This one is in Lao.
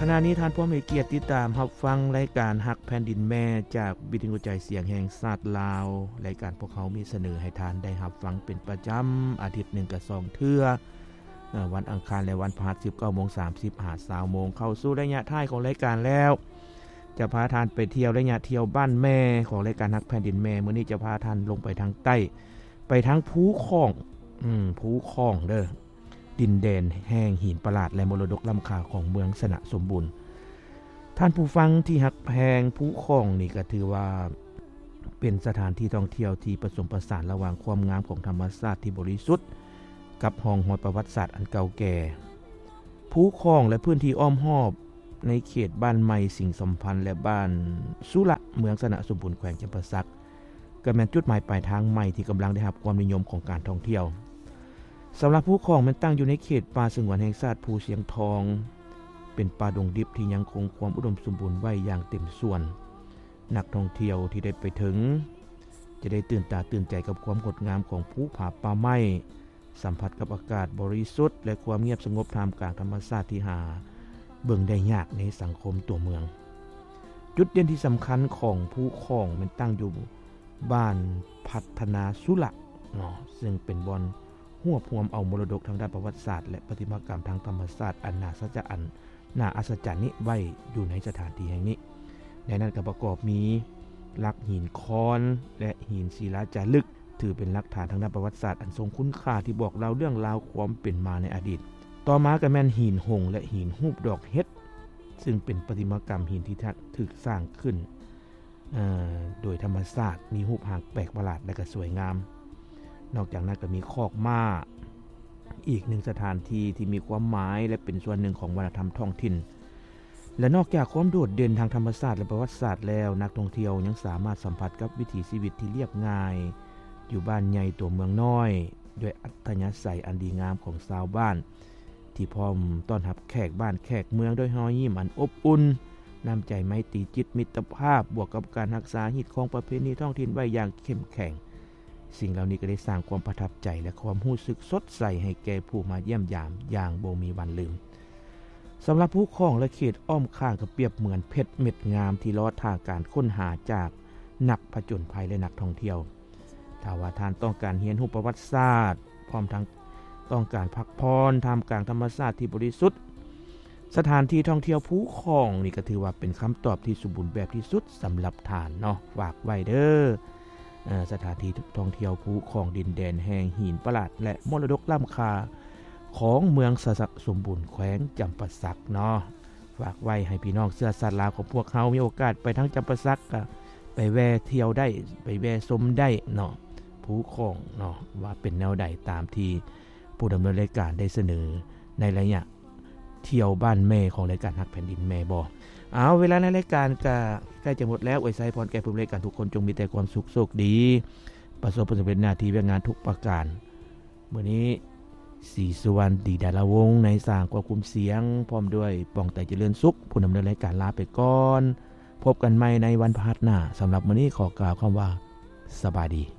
ຂະນະນີ້ທ່ານພ້ອມໃຫ້ກຽດຕິດຕາມຮັບຟັງລາຍການຮັກແຜ່ນດິນແມ່ ຈາກວິທະຍຸກະຈາຍສຽງແຫ່ງຊາດລາວ. ລາຍການພວກເຮົາມີສະເໜີໃຫ້ທ່ານໄດ້ຮັບຟັງເປັນປະຈຳ ອາທິດໜຶ່ງກະສອງເທື່ອ, ເອີ່ ວັນອັງຄານ ແລະ ວັນພະຫັດ ສິບເກົ້າໂມງສາມສິບ ຫາ ຊາວໂມງ. ເຂົ້າສູ່ໄລຍະທ້າຍຂອງລາຍການແລ້ວ, ຈະພາທ່ານໄປທ່ຽວໄລຍະທ່ຽວບ້ານແມ່ຂອງລາຍການຮັກແຜ່ນດິນແມ່. ມື້ນີ້ຈະພາທ່ານລົງໄປທາງໃຕ້, ໄປທາງພູຂອງ, ອືມ, ພູຂອງເດີ້. ດິນແດນແຫ່ງຫີນປະຫຼາດ ແລະ ມໍລະດົກລ້ຳຄ່າຂອງເມືອງຊະນະສົມບູນ. ທ່ານຜູ້ຟັງທີ່ຮັກແພງ, ພູຂອງນີ້ກໍຖືວ່າເປັນສະຖານທີ່ທ່ອງທ່ຽວທີ່ປະສົມປະສານລະຫວ່າງຄວາມງາມຂອງທຳມະຊາດທີ່ບໍລິສຸດ ກັບຮ່ອງຮອຍປະຫວັດສາດອັນເກົ່າແກ່. ພູຂອງ ແລະ ພື້ນທີ່ອ້ອມຮອບໃນເຂດບ້ານໃໝ່ສິງສຳພັນ ແລະ ບ້ານສຸລະ ເມືອງຊະນະສົມບູນ ແຂວງຈຳປາສັກ ກໍແມ່ນຈຸດໝາຍປາຍທາງໃໝ່ທີ່ກຳລັງໄດ້ຮັບຄວາມນິຍົມຂອງການທ່ອງທ່ຽວ. ສຳລັບພູຂອງແມ່ນຕັ້ງຢູ່ໃນເຂດປ່າສະຫງວນແຫ່ງຊາດພູຊຽງທອງ, ເປັນປ່າດົງດິບທີ່ຍັງຄົງຄວາມອຸດົມສົມບູນໄວ້ຢ່າງເຕັມສ່ວນ. ນັກທ່ອງທ່ຽວທີ່ໄດ້ໄປເຖິງ ຈະໄດ້ຕື່ນຕາຕື່ນໃຈກັບຄວາມງົດງາມຂອງພູຜາປ່າໄມ້, ສຳຜັດກັບອາກາດບໍລິສຸດ ແລະ ຄວາມງຽບສະຫງົບທ່າມກາງທຳມະຊາດທີ່ຫາເບິ່ງໄດ້ຍາກໃນສັງຄົມຕົວເມືອງ. ຈຸດເດັ່ນທີ່ສຳຄັນຂອງພູຂອງແມ່ນຕັ້ງຢູ່ບ້ານພັດທະນາສຸລະເນາະ, ເຊິ່ງເປັນບ່ອນຮວບຮວມເອົາມໍລະດົກທາງດ້ານປະຫວັດສາດ ແລະ ປະຕິມາກຳທາງທຳມະຊາດອັນໜ້າສັດຈະອັນ ໜ້າອັດສະຈັນນີ້ໄວ້ຢູ່ໃນສະຖານທີ່ແຫ່ງນີ້. ໃນນັ້ນກໍປະກອບມີຫຼັກຫີນຄອນ ແລະ ຫີນສິລາຈາລຶກ, ຖືເປັນຫຼັກຖານທາງດ້ານປະຫວັດສາດອັນຊົງຄຸນຄ່າທີ່ບອກເລົ່າເລື່ອງລາວຄວາມເປັນມາໃນອະດີດ. ຕໍ່ມາກໍແມ່ນຫີນຫົງ ແລະ ຫີນຮູບດອກເຫັດ, ຊຶ່ງເປັນປະຕິມາກຳຫີນທີ່ຖືກສ້າງຂຶ້ນ ເອີ່ ໂດຍທຳມະຊາດ, ມີຮູບຮ່າງແປກປະຫຼາດ ແລະ ກໍສວຍງາມ. ນອກຈາກນັ້ນກໍມີຄອກມ້າ, ອີກໜຶ່ງສະຖານທີ່ທີ່ມີຄວາມໝາຍ ແລະ ເປັນສ່ວນໜຶ່ງຂອງວັດທະນະທຳທ້ອງຖິ່ນ. ແລະ ນອກຈາກຄວາມໂດດເດັ່ນທາງທຳມະຊາດ ແລະ ປະຫວັດສາດແລ້ວ, ນັກທ່ອງທ່ຽວຍັງສາມາດສຳຜັດກັບວິຖີຊີວິດທີ່ລຽບງ່າຍ ຢູ່ບ້ານໃຫຍ່ຕົວເມືອງນ້ອຍ ດ້ວຍອັດທະຍາໄສອັນດີງາມຂອງຊາວບ້ານ ທີ່ພ້ອມຕ້ອນຮັບແຂກບ້ານແຂກເມືອງດ້ວຍຮອຍຍິ້ມອັນອົບອຸ່ນ, ນ້ຳໃຈໄມຕີຈິດມິດຕະພາບ, ບວກກັບການຮັກສາຮີດຄອງປະເພນີທ້ອງຖິ່ນໄວ້ຢ່າງເຂັ້ມແຂງ. ສິ່ງເຫຼົ່ານີ້ກໍໄດ້ສ້າງຄວາມປະທັບໃຈ ແລະ ຄວາມຮູ້ສຶກສົດໃສໃຫ້ແກ່ຜູ້ມາຢ້ຽມຢາມຢ່າງບໍ່ມີວັນລືມ. ສຳລັບພູຂອງ ແລະ ເຂດອ້ອມຂ້າງກໍປຽບເໝືອນເພັດເມັດງາມທີ່ລໍຖ້າການຄົ້ນຫາຈາກນັກຜະຈົນໄພ ແລະ ນັກທ່ອງທ່ຽວ. ຖ້າວ່າທ່ານຕ້ອງການຮຽນຮູ້ປະຫວັດສາດ ພ້ອມທັງຕ້ອງການພັກຜ່ອນທ່າມກາງທຳມະຊາດທີ່ບໍລິສຸດ, ສະຖານທີ່ທ່ອງທ່ຽວພູຂອງນີ້ກໍຖືວ່າເປັນຄຳຕອບທີ່ສົມບູນແບບທີ່ສຸດສຳລັບທ່ານເນາະ. ຝາກໄວ້ເດີ້ ເອີ່ ສະຖານທີ່ທ່ອງທ່ຽວພູຂອງ, ດິນແດນແຫ່ງຫີນປະຫຼາດ ແລະ ມໍລະດົກລ້ຳຄ່າຂອງເມືອງຊະນະສົມບູນ ແຂວງຈຳປາສັກເນາະ. ຝາກໄວ້ໃຫ້ພີ່ນ້ອງເຊື້ອຊາດລາວຂອງພວກເຮົາມີໂອກາດໄປທາງຈຳປາສັກ ກະໄປແວ່ທ່ຽວໄດ້, ໄປແວ່ຊົມໄດ້ເນາະ, ພູຂອງເນາະ ວ່າເປັນແນວໃດ, ຕາມທີ່ຜູ້ດຳເນີນລາຍການໄດ້ສະເໜີໃນໄລຍະທ່ຽວບ້ານແມ່ຂອງລາຍການຮັກແຜ່ນດິນແມ່ບໍ. ເອົາ, ເວລາໃນລາຍການກະໃກ້ຈະໝົດແລ້ວ. ອວຍໄຊພອນແກ່ຜູ້ດຳເນີນລາຍການທຸກຄົນ ຈົ່ງມີແຕ່ຄວາມສຸກໂຊກດີ, ປະສົບຜົນສຳເລັດໜ້າທີ່ວຽກງານທຸກປະການ. ມື້ນີ້ ສີສຸວັນ ດີດາລາວົງ ໃນສາງຄວບຄຸມສຽງ ພ້ອມດ້ວຍ ປອງໄຕ ຈະເລີນສຸກ ຜູ້ດຳເນີນລາຍການ ລາໄປກ່ອນ. ພົບກັນໃໝ່ໃນວັນພະຫັດໜ້າ. ສຳລັບມື້ນີ້ຂໍກ່າວຄຳວ່າ ສະບາຍດີ.